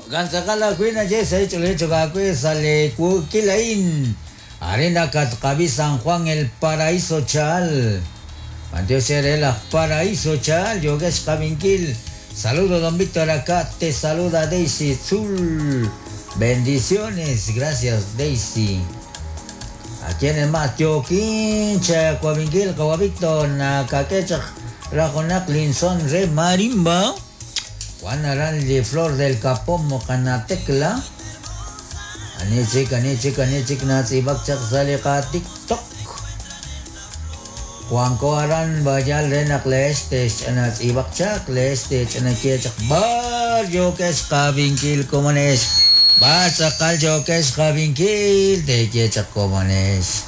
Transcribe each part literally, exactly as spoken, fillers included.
Gantzakal ajwi' naye sa' chokakwi sale kukilain. Arena Katkabi San Juan el Paraíso Chal. Mantiox el Paraíso Chal, Yogesh Kabinkil. Saludo, don Víctor, acá te saluda Daisy Zul. Bendiciones, gracias Daisy. ¿A quién más? Yoquincha, Coavinquil, Víctor, Nakakechach, Rajonak, Linson, Re Marimba. Juan Aranli, Flor del Capomo, Canatecla. Anichik, anichik, anichik, Nazi, Bakchak, Salika, TikTok. Juan Koaran, Bayal, Renak, Leste, Nazi, Bakchak, Leste, Chanakiechak, Bar, Yokesh, Kabinkil, Comones. Batzakal, Yokesh, Kabinkil, Tekiechak, Comones.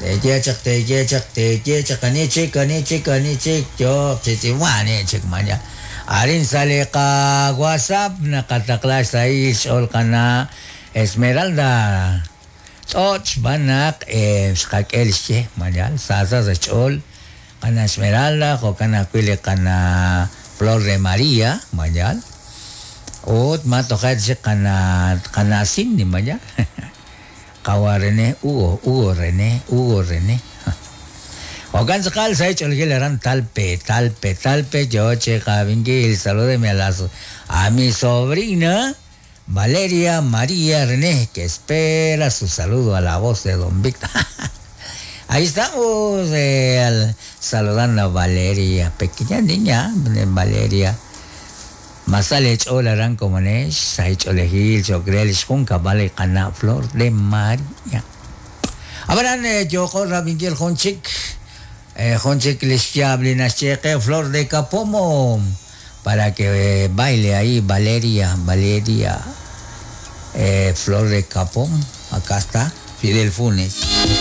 Tekiechak, Tekiechak, Tekiechak, Anichik, Anichik, Anichik, Yok, Chichiwanichik, Maya. Arin salika WhatsApp, nakatakla sa is, ol kana Esmeralda. Toch banak eh xqak'el xye mayal sasa sa ch'ol kana Esmeralda jo kana kwili kana Flor de María mayal ut matojet xi kana kana Cindy mayal qawa René Hugo Hugo René Hugo René Okan sakal sa ch'ol aran talpe talpe talpe yo che qabinkil salúdeme a las a mi sobrina Valeria María René, que espera su saludo a la voz de don Víctor. Ahí estamos eh, al, saludando a Valeria, pequeña niña, Valeria. Masale ch'olarán como nesh, sai ch'olejil, ch'okrel, xjunka, vale, cana, flor de María. Abrán, eh, yo corra, Miguel Jonchik, eh, Jonchik, les nascheque, flor de capomo, para que eh, baile ahí Valeria, Valeria, eh, Flor de Capón, acá está, Fidel Funes.